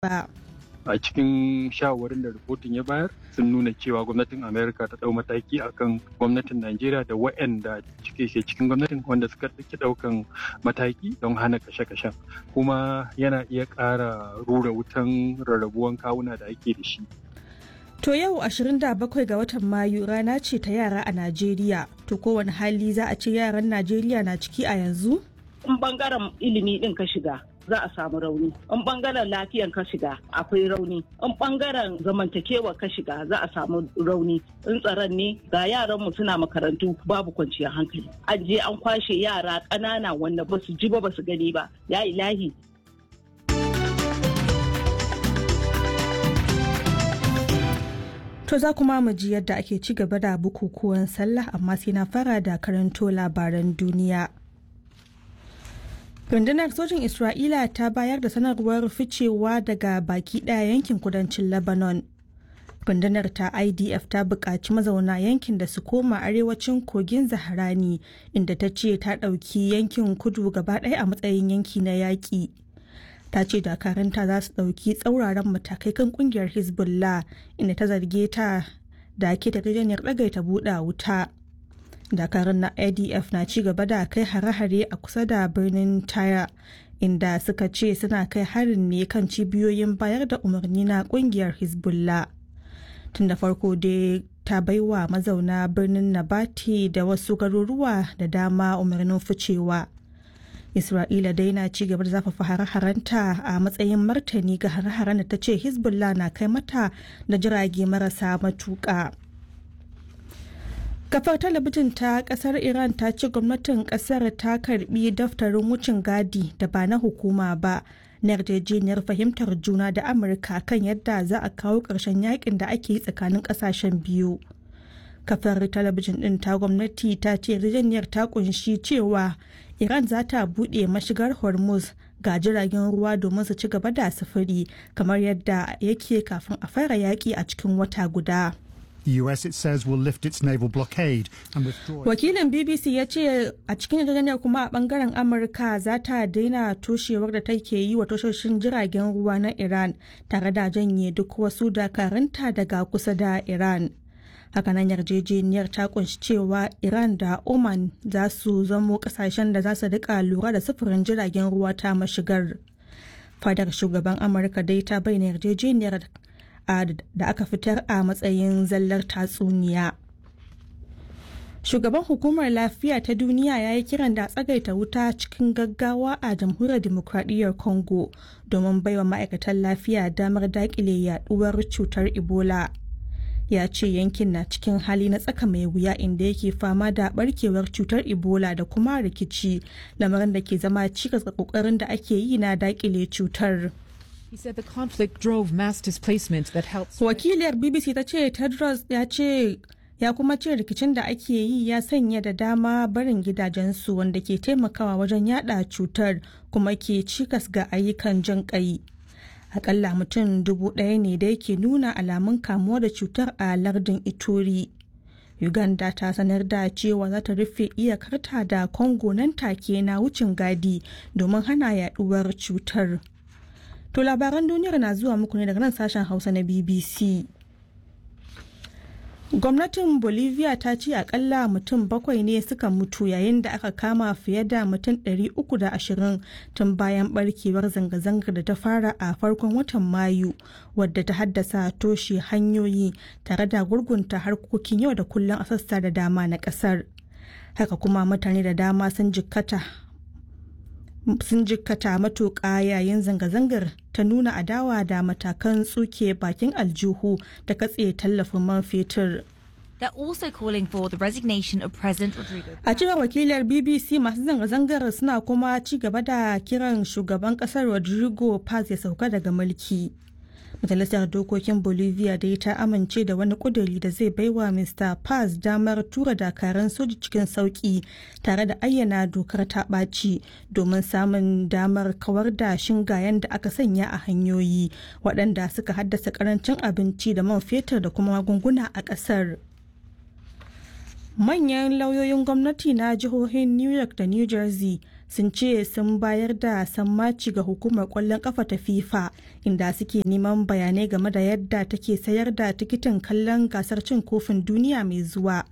Ba. A cikin shawarwarin da rahoton ya bayar sun nuna cewa gwamnatin Amerika ta ɗau mataki akan gwamnatin Najeriya da waɗanda cike ke cikin gwamnatin wanda suka ɗauki ɗaukan mataki don hana kashe-kashen, kuma yana iya ƙara rura wutan rarrabuwan kawuna da ake da shi. To yau 27 ga watan Mayu rana ce ta yara a Najeriya. To kowane hali za a ce yaran Najeriya na ciki a yanzu? In bangaren ilimi din ka shiga, za a samu rauni. In bangaren lafiyan ka shiga, akwai rauni. In bangaren zamantakewa ka shiga, za a samu rauni. In tsaron ne, ga yaran mu suna makarantu babu kwanciyar hankali. An je an kwashe yara ƙanana wanda ba su ji ba, ba su gani ba. Ya ilahi. To za kuma mu ji yadda ake ci gaba da bukukuwan sallah, amma sai na fara da karanto labaran duniya. Rundunar sojin Isra'ila ta bayar da sanarwar ficewa daga baki ɗaya yankin kudancin Lebanon. Rundunar ta IDF ta buƙaci mazauna yankin da su koma arewacin kogin Zaharani, inda ta ce ta ɗauki yankin kudu gaba ɗaya a matsayin yanki na yaƙi. Ta ce dakaranta za su ɗauki tsauraran matakai kan ƙungiyar Hezbollah, inda ta zarge ta da ke yarjejeniyar ɗagaita buɗa wuta. Dakarun na IDF na ci gaba da kai hare-hare a kusa da birnin Taya, inda suka ce suna kai harin ne kan cibiyoyin bayar da umarni na kungiyar Hezbollah. Tun da farko dai ta baiwa mazauna birnin Nabati da wasu garuruwa da dama umarnin ficewa. Isra'ila dai na ci gaba da zafafa hare-harenta a matsayin martani ga hare-haren da ta ce Hezbollah na kai mata da jirage marasa matuƙa. Kafar talabijin ta kasar Iran ta ce gwamnatin kasar ta karbi daftarin wucin gadi da ba na hukuma ba na yarjejeniyar fahimtar juna da Amurka kan yadda za a kawo ƙarshen yakin da ake yi tsakanin ƙasashen biyu. Kafar talabijin ɗin ta gwamnati ta ce yarjejeniyar ta kunshi cewa Iran za ta buɗe mashigar Hormuz ga jiragen ruwa domin su ci gaba da sufuri kamar yadda yake kafin a fara yaƙi a cikin wata guda. The US, it says, will lift its naval blockade and withdraw. Wakilin BBC ya ce a cikin yarjejeniyar kuma a bangaren Amurka za ta daina toshewar da take yi wa tashoshin jiragen ruwa na Iran tare da janye duk wasu dakarunta daga kusa da Iran. Hakanan yarjejeniyar ta kunshi cewa Iran da Oman za su zamo kasashen da za su rika lura da sufurin jiragen ruwa ta mashigar. Fadar shugaban Amurka dai ta bayyana yarjejeniyar da aka fitar a matsayin zallar tatsuniya. Shugaban Hukumar Lafiya ta Duniya ya yi kiran da tsagaita wuta cikin gaggawa a Jamhuriyar Dimokuraɗiyyar Congo domin baiwa ma'aikatan lafiya damar daƙile yaduwar cutar Ebola. Ya ce yankin na cikin hali na tsaka mai wuya, inda yake fama da barkewar cutar Ebola da kuma rikici, lamarin da ke zama cikas ga kokarin da ake yi na daƙile cutar. He said the conflict drove mass displacement that helped. Wakiliyar BBC ta ce Tedros ya ce ya kuma ce rikicin da ake yi ya sanya da dama barin gidajensu, wanda ke taimakawa wajen yada cutar kuma ke cikas ga ayyukan jin kai. Akalla mutum 1,000 ne da yake nuna alamun kamuwa da cutar a lardin Ituri. Uganda ta sanar da cewa za ta rufe iyakarta da Congo nan take na wucin gadi domin hana yaduwar cutar. To labaran duniyar na zuwa muku ne daga nan sashen Hausa na BBC. Gwamnatin Bolivia ta ce akalla mutum bakwai ne suka mutu yayin da aka kama fiye da mutum 320 tun bayan barkewar zanga-zangar da ta fara a farkon watan Mayu, wadda ta haddasa toshe hanyoyi tare da gurgunta harkokin yau da kullum a sassa da dama na kasar. Haka kuma mutane da dama sun jikkata matuƙa yayin zanga-zangar ta nuna adawa da matakan tsuke bakin aljihu da katse tallafin man fetur. They're also calling for the resignation of President Rodrigo. A cewar wakilar BBC, masu zanga-zangar suna kuma ci gaba da kiran shugaban kasar Rodrigo Paz ya sauka daga mulki. Majalisar Dokokin Bolivia dai ta amince da wani kuduri da zai baiwa Mr. Paz damar tura dakaran soji cikin sauki tare da ayyana dokar ta ɓaci domin samun damar kawar da shingayen da aka sanya a hanyoyi waɗanda suka haddasa karancin abinci da man fetur da kuma magunguna a ƙasar. Manyan lauyoyin gwamnati na jihohin New York da New Jersey sun ce sun bayar da sammaci ga hukumar kwallon kafa ta FIFA, inda suke neman bayanai game da yadda take sayar da tikitin kallon gasar cin kofin duniya mai zuwa.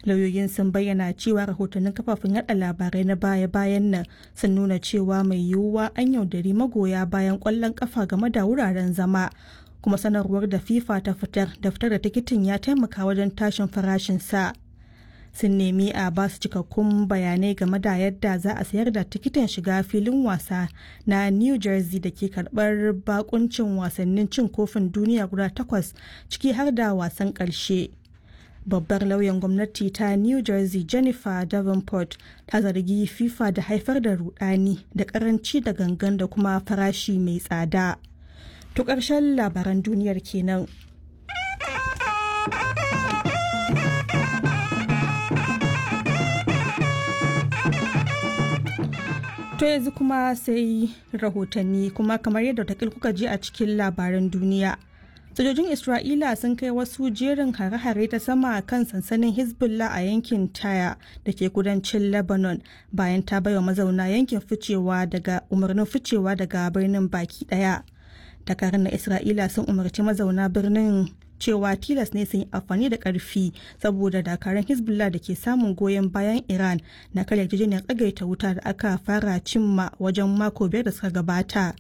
Lauyoyin sun bayyana cewa rahotannin kafafen yada labarai na baya-bayan nan sun nuna cewa mai yiwuwa an yaudari magoya bayan kwallon kafa game da wuraren zama, kuma sanarwar da FIFA ta fitar da fitar da tikitin ya taimaka wajen tashin farashin sa. Sun nemi a ba su cikakkun bayanai game da yadda za a sayar da tikitin shiga filin wasa na New Jersey da ke karbar bakuncin wasannin cin kofin duniya guda takwas, ciki har da wasan karshe. Babbar lauyan gwamnati ta New Jersey, Jennifer Davenport, ta zargi FIFA da haifar da rudani da karanci da gangan da kuma farashi mai tsada. To, ƙarshen labaran duniyar kenan. To, yanzu kuma sai rahotanni. Kuma kamar yadda takil kuka ji a cikin labaran duniya, sojojin Isra'ila sun kai wasu jerin hare-hare ta sama kan sansanin Hezbollah a yankin Taya da ke kudancin Lebanon, bayan ta baiwa mazauna yankin ficewa daga umarnin ficewa daga birnin baki daya. Dakarun na Isra'ila sun umarci mazauna birnin cewa tilas ne sun yi amfani da karfi saboda dakarun Hezbollah da ke samun goyon bayan Iran na karya yarjejeniyar tsagaita wuta da aka fara cimma wajen mako 5 da suka gabata.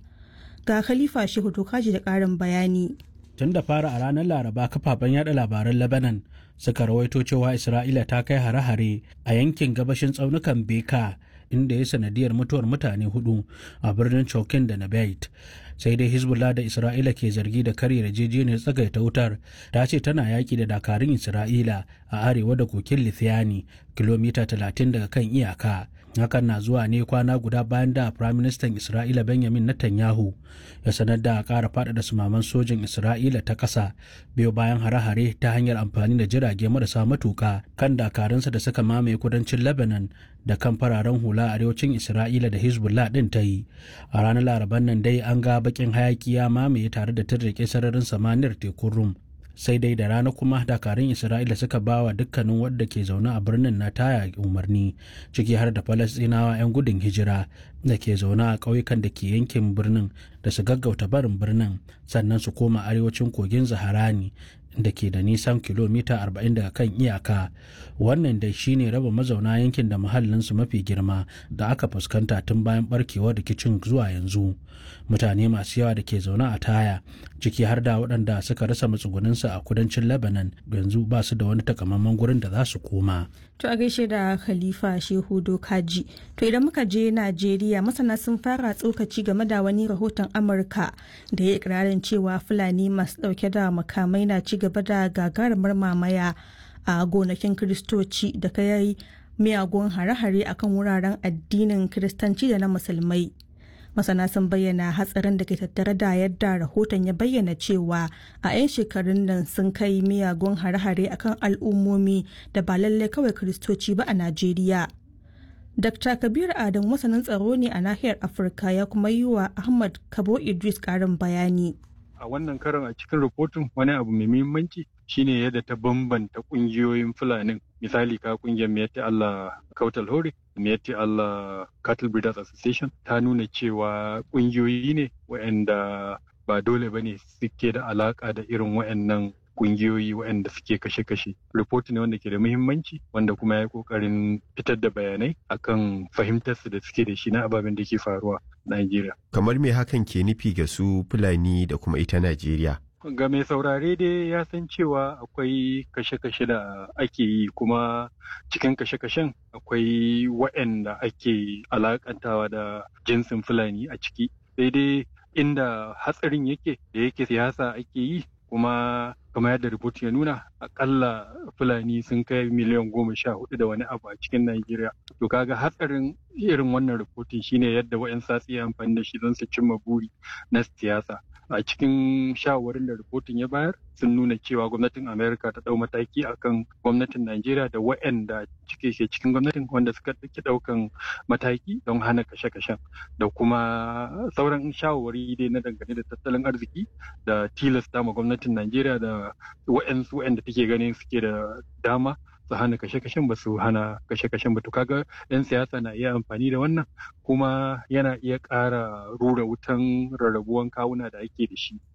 Ga Khalifa Shehu Tokaji da karin bayani. Tun da fara a ranar Laraba, kafafen yada labaran Lebanon suka rawaito cewa Isra'ila ta kai hare-hare a yankin gabashin tsaunukan Beka, inda ya sanadiyar mutuwar mutane hudu a birnin Chokin da Nabait. Sai dai Hezbollah da Isra'ila ke zargi da karya yarjejeniyar tsagaita wutar ta ce tana yaki da dakarun Isra'ila a arewa da kokin Lithiani, kilomita 30 daga kan iyaka. Hakan na zuwa ne kwana guda bayan da Prime Minister Isra'ila Benjamin Netanyahu ya sanar da ƙara faɗaɗa sumaman sojin Isra'ila ta ƙasa, biyo bayan hare-hare ta hanyar amfani da jirage marasa matuka kan dakarunsa da suka mamaye kudancin Lebanon da kan fararen hula arewacin Isra'ila da Hezbollah ɗin ta yi. A ranar Laraban nan dai an ga bakin hayaki ya mamaye tare da tirrike sararin samaniyar tekun Rum. Sai dai da rana kuma dakarun Isra'ila suka ba wa dukkanin wadda ke zaune a birnin na Taya umarni, ciki har da Falasɗinawa 'yan gudun hijira da ke zaune a ƙauyukan da ke yankin birnin, da su gaggauta barin birnin sannan su koma arewacin kogin Zaharani da ke da nisan kilomita 40 daga kan iyaka. Wannan dai shine raba mazauna yankin da muhallinsu mafi girma da aka fuskanta tun bayan barkewar rikicin zuwa yanzu. Mutane masu yawa da ke zaune a Taya, ciki har da waɗanda suka rasa matsugunansu a kudancin Lebanon, yanzu ba su da wani takamaiman gurin da za su koma. To, a gaishe da Khalifa Shehu Dokaji. To, idan muka je Najeriya, masana sun fara tsokaci game da wani rahoton Amurka da ya ikirarin cewa Fulani masu dauke da makamai na ci gaba da gagarumar mamaya a gonakin Kiristoci da kai miyagun hare-hare akan wuraren addinin Kiristanci da na Musulmai. Masana sun bayyana hatsarin da ke tattare da yadda rahoton ya bayyana cewa a 'yan shekarun nan sun kai miyagun hare-hare akan al'ummomi da ba lallai kawai Kiristoci ba a Najeriya. Dr. Kabir Adam masanin tsaro ne a nahiyar Afirka, ya kuma yi wa Ahmad Kabo Idris karin bayani. A wannan karon, a cikin rahoton, wani abu mai muhimmanci shine yadda ta bambanta kungiyoyin Fulanin. Misali, ka kungiyar Miyatti Allah Kautal Hore, Miyatti Allah Cattle Breeders Association, ta nuna cewa kungiyoyi ne waɗanda ba dole bane suke da alaka da irin waɗannan kungiyoyi waɗanda suke kashe-kashe. Report ne wanda ke da muhimmanci, wanda kuma ya yi ƙoƙarin fitar da bayanai akan fahimtarsu da suke da shi na ababen da ke faruwa Najeriya. Kamar me hakan ke nufi ga su Fulani da kuma ita Najeriya? Ga mai saurare dai ya san cewa akwai kashe-kashe da ake yi, kuma cikin kashe-kashen akwai waɗanda ake alakantawa da jinsin Fulani a ciki. Sai dai inda hatsarin yake, da yake siyasa ake yi, kuma kamar yadda report ya nuna, akalla Fulani sun kai miliyan 14 da wani abu a cikin Najeriya. To, kaga hatsarin irin wannan rahoton shine yadda wa'yan satsi amfani da shi don su cimma buri na siyasa. A cikin shawarwarin da rahoton ya bayar sun nuna cewa gwamnatin Amerika ta dau mataki akan gwamnatin Najeriya da waɗanda cike ke cikin gwamnatin wanda suka ɗauki ɗaukan mataki don hana kashe-kashen, da kuma sauran shawarwari dai na dangane da tattalin arziki da tilasta ma gwamnatin Najeriya da waɗansu waɗanda take ganin suke da dama. su hana kashe-kashen ba su hana kashe-kashen ba. To kaga 'yan siyasa na iya amfani da wannan, kuma yana iya ƙara rura wutan rarrabuwan kawuna da ake da shi.